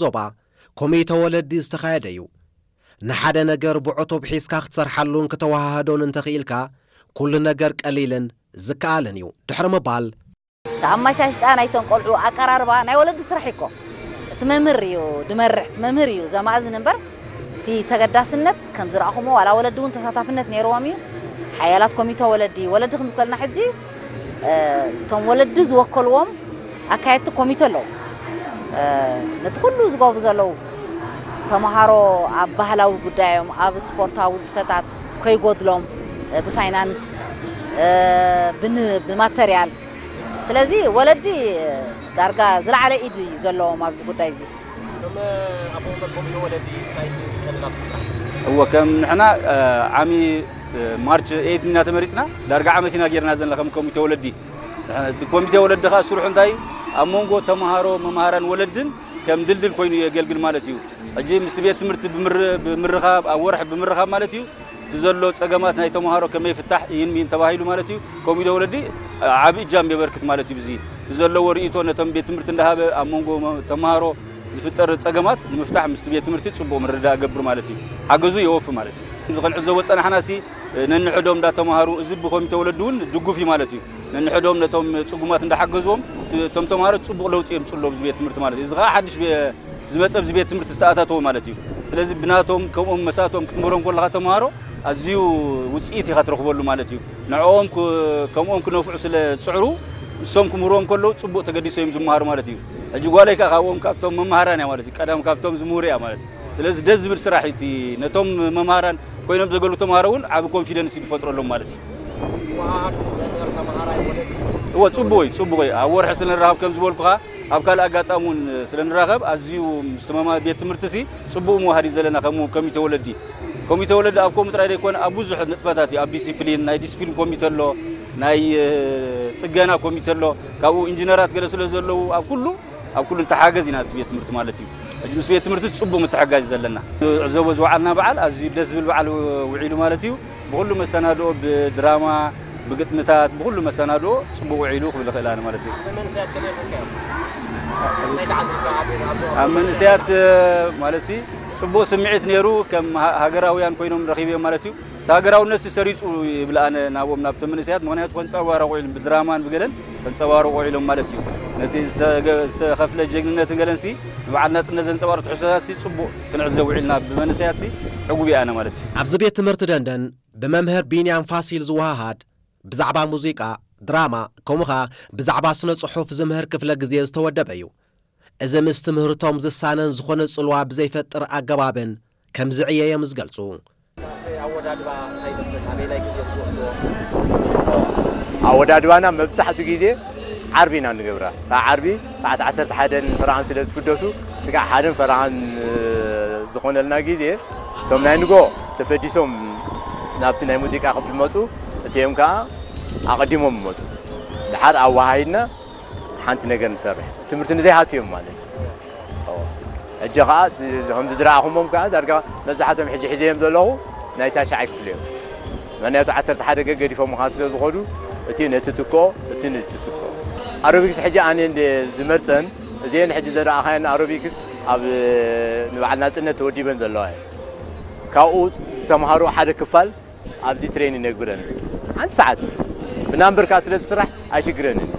ዞባ ኮሚተ ወለዲ ዝተኻየደ እዩ። ንሓደ ነገር ብዕቱብ ሒዝካ ክትሰርሓሉን ክተወሃህዶን እንተኽኢልካ፣ ኩሉ ነገር ቀሊልን ዝከኣልን እዩ ድሕሪ ምባል፣ እቲ ኣመሻሽጣ ናይቶም ቆልዑ ኣቀራርባ ናይ ወለዲ ስራሕ እዩ እኮ። እቲ መምህር እዩ ድመርሕ፣ እቲ መምህር እዩ ዘማእዝን እምበር፣ እቲ ተገዳስነት ከም ዝረኣኹሞ፣ ዋላ ወለዲ እውን ተሳታፍነት ነይርዎም እዩ። ሓያላት ኮሚተ ወለዲ፣ ወለዲ ክንብል ከለና ሕጂ፣ እ፣ እቶም ወለዲ ዝወከልዎም ኣካየድቲ ኮሚተ ኣለዉ። እ፣ ነቲ ኩሉ ዝገብሩ ዘለዉ፣ ተምሃሮ ኣብ ባህላዊ ጉዳዮም፣ ኣብ ስፖርታዊ ንጥፈታት ከይጎድሎም፣ እ፣ ብፋይናንስ፣ እ፣ ብን-፣ ብማተርያል። ስለዚ ወለዲ ዳርጋ ዝለዓለ ኢድ እዩ ዘለዎም ኣብዚ ጉዳይ እዚ። ከም ኣቦ ወንበር ኮሚተ ወለዲ እንታይ እዩ ቀንዲ ናትኩም ስራሕ? እወ፣ ከም ንሕና፣ እ፣ ዓሚ፣ እ፣ ማርች ኤይት ኢና ተመሪጽና፣ ዳርጋ ዓመት ኢና ጌርና ዘለና ከም ኮሚተ ወለዲ። እቲ ኮሚተ ወለዲ ኸኣ ስርሑ እንታይ? ኣብ መንጎ ተምሃሮ፣ መምሃራን ወለድን ከም ድልድል ኮይኑ የገልግል ማለት እዩ። ሕጂ ምስቲ ቤት ትምህርቲ ብምር-፣ ብምርኻብ፣ ኣብ ወርሒ ብምርኻብ ማለት እዩ፣ እቲ ዘሎ ጸገማት ናይ ተምሃሮ ከመይ ይፍታሕ፣ ይህን ሚን ተባሂሉ ማለት እዩ፣ ኮሚተ ወለዲ ዓቢ እጃም የበርክት ማለት እዩ። ብዚ እቲ ዘለዎ ርእይቶ ነቶም ቤት ትምህርቲ እንዳሃበ ኣብ መንጎ መ-፣ ተምሃሮ ዝፍጠር ጸገማት ንምፍታሕ ምስቲ ቤት ትምህርቲ ጽቡቕ ምርድዳእ ገብር ማለት እዩ። ሓገዙ የወፊ ማለት እዩ። እዚ ክንዕዘቦ ዝጸናሕናሲ፣ ነንሕዶም እንዳተምሃሩ፣ እዚ ብኮሚተ ወለዲ እውን ድጉፍ እዩ ማለት እዩ። ነንሕዶም ነቶም ጽጉማት እንዳሓገዝዎም፣ እቲ፣ እቶም ተምሃሮ ጽቡቕ ለውጢ የምጽኡ ኣለዉ ኣብዚ ቤት ትምህርቲ ማለት እዩ። እዚ ኸኣ ሓድሽ ቤ-፣ ዝመጸ ኣብዚ ቤት ትምህርቲ ዝተኣታተወ ማለት እዩ። ስለዚ ብናቶም ከምኦም መሳቶም ክትምህሮም ከለኻ ተምሃሮ ኣዝዩ ውጽኢት ኢኻ ትረኽበሉ ማለት እዩ። ንዕኦም ክ-፣ ከምኦም ክነፍዑ ስለ ዝጽዕሩ፣ ንሶም ክምህርዎም ከለዉ ጽቡቕ ተገዲሶም እዮም ዝመሃሩ ማለት እዩ። ሕጂ ጓለይ ከኣ ካብኦም ካብቶም መምሃራን እያ ማለት እዩ። ቀዳም ካብቶም ዝምህሩ እያ ማለት እዩ። ስለዚ ደስ ዝብል ስራሕ እዩ እቲ ነቶም መምሃራን ኮይኖም ዘገልግሉ ተምሃሮ እውን ዓቢ ኮንፊደንስ እዩ ዝፈጥረሎም ማለት እዩ። ወሃሃድኩም መምህር ተምሃራይ ወለዲ? እወ፣ ጽቡቕ እዩ፣ ጽቡቕ እዩ። ኣብ ወርሒ ስለ ንራኸብ ከም ዝበልኩኻ፣ ኣብ ካልእ ኣጋጣሚ እውን ስለ ንራኸብ ኣዝዩ ምስቲ መማ-፣ ቤት ትምህርቲ ሲ ጽቡቕ ምውሃድ እዩ ዘለና ከም ኮሚተ ወለዲ። ኮሚተ ወለዲ ኣብ ከምኡ ጥራይ ዘይኮነ ኣብ ብዙሕ ንጥፈታት እዩ። ኣብ ዲሲፕሊን፣ ናይ ዲሲፕሊን ኮሚተ ኣሎ፣ ናይ፣ እ፣ ጽገና ኮሚተ ኣሎ፣ ካብኡ ኢንጂነራት ገለ ስለ ዘለዉ ኣብ ኩሉ ኣብ ኩሉ ንተሓገዝ ኢና፣ እቲ ቤት ትምህርቲ ማለት እዩ። ሕጂ ምስ ቤት ትምህርቲ ጽቡቕ ምትሕጋዝ እዩ ዘለና። ዕዘቦ ዝወዓልና በዓል ኣዝዩ ደስ ዝብል በዓል ውዒሉ ማለት እዩ። ብኹሉ መሰናድኦ፣ ብድራማ፣ ብግጥምታት፣ ብኹሉ መሰናድኦ ጽቡቕ ውዒሉ ክብል እኽእል ኣነ ማለት እዩ። ኣብ መንእሰያት ከመይ ርኢኻዮም? እንታይ ተዓዚብካ ኣብ፣ ኣብዚ ኣብ መንእሰያት፣ እ፣ ማለት ሲ ጽቡቕ ስምዒት ነይሩ። ከም ሃ-፣ ሃገራውያን ኮይኖም ረኺበዮም ማለት እዩ። እቲ ሃገራውነት ሰሪጹ ይብል ኣነ ናብኦም፣ ናብቶም መንእሰያት። ምኽንያቱ ከንጸባርቑ ኢሎም ብድራማን ብገለን ከንጸባርቑ ኢሎም ማለት እዩ። ነቲ ዝተገ-፣ ዝተኸፍለ ጀግንነትን ገለንሲ ንበዓል ናጽነት ዘንጸባርቑ ትሕዝቶታትሲ ጽቡቕ ክንዕዘብ ውዒልና፣ ብመንእሰያትሲ ዕጉብ እየ ኣነ ማለት እዩ። ኣብዚ ቤት ትምህርቲ ደንደን ብመምህር ቢንያም ፋሲል ዝወሃሃድ ብዛዕባ ሙዚቃ፣ ድራማ፣ ከምኡ ኸኣ ብዛዕባ ስነ ጽሑፍ ዝምህር ክፍለ ግዜ ዝተወደበ እዩ። እዚ ምስ ትምህርቶም ዝሳነን ዝኾነ ጽልዋ ብዘይፈጥር ኣገባብን ከም ዝዕየዮም ዝገልጹ። እቲ ኣወዳድባ እንታይ ይመስል? ኣበየናይ ግዜ ትወስድዎ? ኣወዳድባና መብዛሕትኡ ግዜ ዓርቢ ኢና ንገብራ። እታ ዓርቢ ሰዓት ዓሰርተ ሓደን ፈረቓን ስለ ዝፍደሱ፣ ስጋዕ ሓደን ፈረቓን፣ እ፣ ዝኾነልና ግዜ፣ እቶም ናይ ንጎ ተፈዲሶም ናብቲ ናይ ሙዚቃ ክፍሊ መጹ፣ እቲኦም ከኣ ኣቐዲሞም ይመጹ። ደሓር ኣወሃሂድና ሓንቲ ነገር ንሰርሕ። ትምህርቲ ንዘይሃስዮም ማለት እዩ። እወ። ሕጂ ኸዓ ከምዚ ዝረኣኹሞም ከኣ ዳርጋ መብዛሕትኦም ሕጂ ሒዘዮም ዘለኹ ናይ ታሽዓይ ክፍሊ እዮም። ምኽንያቱ ዓሰርተ ሓደ ገዲፎም ኸዓ ስለ ዝኾዱ፣ እቲ ነቲ ትክኦ፣ እቲ ነቲ ትክኦ። ኣሮቢክስ ሕጂ ኣነ እንደ ዝመርጸን፣ እዚአን ሕጂ ዘረኣኻየን ኣሮቢክስ ኣብ ንበዓል ናጽነት ተወዲበን ዘለዋ እየን። ካብኡ ዝተምሃሩ ሓደ ክፋል ኣብዚ ትሬኒን ነግብረን። ሓንቲ ሰዓት ብናምበር ከኣ ስለ ዝስራሕ ኣይሽግረንን።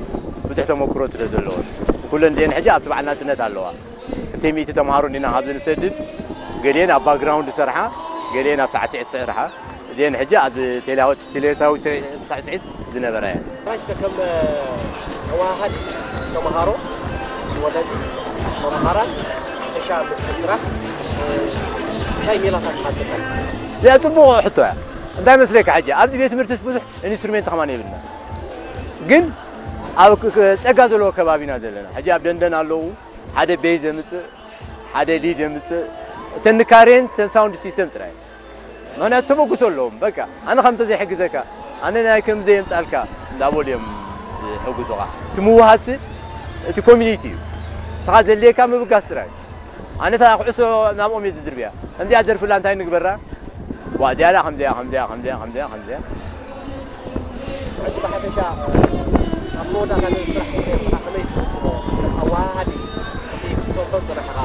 ብዙሕ ተመክሮ ስለ ዘለወን። ኩለን እዚአን ሕጂ ኣብቲ በዓል ናጽነት ኣለዋ። ክልተ ሚእቲ ተምሃሮ እንዲና ካብዚ ንሰድድ፣ ገሊአን ኣብ ባክግራውንድ ዝሰርሓ፣ ገሊአን ኣብ ሳዕስዒት ዝሰርሓ። እዚአን ሕጂ ኣብ ቴሌ-፣ ቴሌታዊ ስርዒ-፣ ሳዕስዒት ዝነበራ እየን። ጥራይ እስከ ከም ኣወሃሃዲ ምስ ተምሃሮ፣ ምስ ወለዲ፣ ምስ መምሃራን፣ ሓፈሻ ምስቲ ስራሕ፣ እንታይ ሜላታት ሓተካ? እዚኣ ጽቡቕ ሕቶ እያ። እንታይ መስለካ፣ ሕጂ ኣብዚ ቤት ትምህርትስ ብዙሕ ኢንስትሩሜንት ከማን የብልና። ግን ኣብ ክ-፣ ክ-፣ ጸጋ ዘለዎ ከባቢና ዘለና። ሕጂ ኣብ ደንደን ኣለዉ፣ ሓደ ቤዝ ዘምጽእ፣ ሓደ ሊድ የምጽእ። እተን ንካሬን እተን ሳውንድ ሲስተም ጥራይ። ምኽንያቱ ተበግሶ ኣለዎም። በቃ፣ ኣነ ከም እንተዘይሕግዘካ፣ ኣነ ናይ ከም ዘየምጻልካ እንዳበሉ እዮም ዝሕግዙኻ። እቲ ምውሃድሲ እቲ ኮሚኒቲ እዩ። ንስኻ ዘድልየካ ምብጋስ ጥራይ። ኣነ እታ ኩዕሶ ናብኦም እየ ዝድርብያ። ከምዚኣ ደርፍላ እንታይ ንግበራ? ዋ፣ እዚኣ ደኣ ከምዚኣ፣ ከምዚኣ፣ ከምዚኣ፣ ከምዚኣ፣ ከምዚኣ። ሕጂ ብሓፈሻ፣ ኣብ መወዳእታ ነዚ ስራሕ ክትሪኦ ከለኻ ከመይ ትግምግሞ? ከም ኣወሃሃዲ፣ እቲ ክትሰርሖ ዝጸናሕኻ